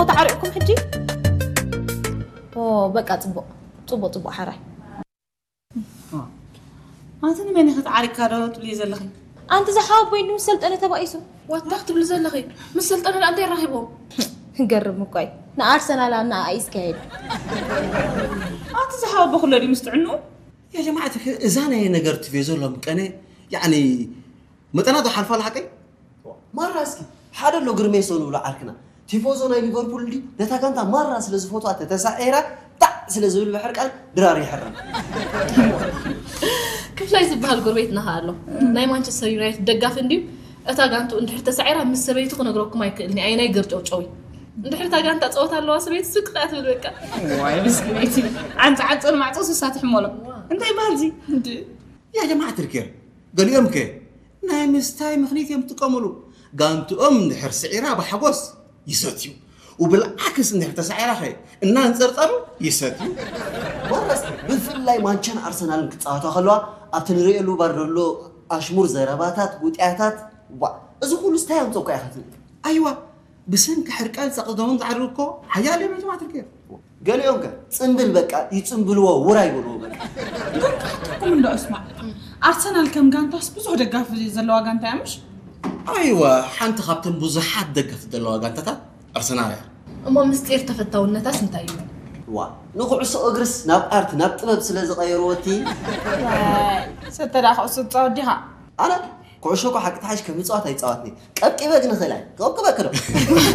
ተዓሪቕኩም ሕጂ? ኦ፣ በቃ ጽቡቕ። ጽቡቕ፣ ጽቡቕ፣ ሓራይ። ኣንቲ ንመን ኢኺ ተዓሪቕካ ዶ ትብልዮ ዘለኺ? ኣንቲ ዝሓወቦይ ምስ ሰልጠነ ተባኢሱ። ዋታ ክትብሊ ዘለኺ? ምስ ሰልጠነ ደኣ እንታይ ራኺቦም? ገርም እኮ እዩ። ንኣርሰናል ኣብ ንኣኣ እዩ ዝካየድ። ኣንቲ ዝሓወቦ ኩሎ ድዩ ምስ ጥዕንኡ? ያ ጀማዓት፣ እዛ ናይ ነገር ቲቬዞ ሎም ቀነ፣ ያዕኒ፣ መጠና ዶ ሓልፋ ኣላ ሓቀይ? ማራ እስኪ፣ ሓደ ኣሎ ግርሜሶ ንብሎ ዓርክና። ቲፎዞ ናይ ሊቨርፑል እንዲ ነታ ጋንታ ማራ ስለ ዝፈትዋ ተተሳዒራ፣ ጣዕ ስለ ዝብል ብሕርቃን ድራር ይሕረም። ክፍላይ ዝበሃል ጎረቤትና ከኣ ኣሎ። ናይ ማንቸስተር ዩናይትድ ደጋፊ እንድዩ። እታ ጋንቱ እንድሕር ተሳዒራ ምስ ሰበይቱ ክነግረኩም ኣይክእልን እየ። ኣየናይ ገርጨውጨው እዩ። እንድሕር እታ ጋንታ ጸወታ ኣለዋ ሰበይቱ ስቅ ከኣ ትብል በቃ። ዋይ ምስኪነይቲ። ዓንጻ ዓንጸ ንማዕጾ ስሳ ትሕመሎ። እንታይ ይበሃል እዚ? እንዲ ያ ጀማዓት ልኬር፣ ገሊኦም ከ ናይ ምስታይ ምኽኒት እዮም ዝጥቀምሉ። ጋንትኦም እንድሕር ስዒራ ብሓጎስ ይሰትዩ፣ ወብልዓክስ እንድሕር ተሳዒራ ኸ እናንጸርጸሩ ይሰትዩ። ማራስ ብፍላይ ማንቸን ኣርሰናልን ክጻወታ ከለዋ ኣብቲ ንርእየሉ ባር ዘሎ ኣሽሙር ዘረባታት ጉጥያታት ዋ እዚ ኩሉ ስታይ ኣምጾ እኮ ኢኻ ትብል ኣይዋ ብሰንኪ ሕርቃን ጸቕጦምን ዝዓርሩ እኮ ሓያል እዮም ጀማዓት ልኬር። ገሊኦም ከ ጽምብል በቃ ይጽምብልዎ ውራይ ይበልዎ በቃ ኩም እንዶ እስማዕ ኣርሰናል ከም ጋንታስ ብዙሕ ደጋፊ ዘለዋ ጋንታ እያ ምሽ ኣይዋ ሓንቲ ካብተን ብዙሓት ደገፍቲ ዘለዋ ጋንታታት ኣርሰናል እያ። እሞ ምስጢር ተፈታውነታስ እንታይ እዩ? ዋ ንኩዕሶ እግርስ ናብ ኣርት ናብ ጥበብ ስለ ዝቐየርዎ እቲ ሰተ ደኣ ኩዕሶ ትፃወት ዲኻ ኣነ ኩዕሾ እኮ ሓቂ ተሓሽ ከም ምፅዋት ኣይፃወትኒ ቀብቂበ ግን እኽእል እየ ክቐብቅበ ክዶ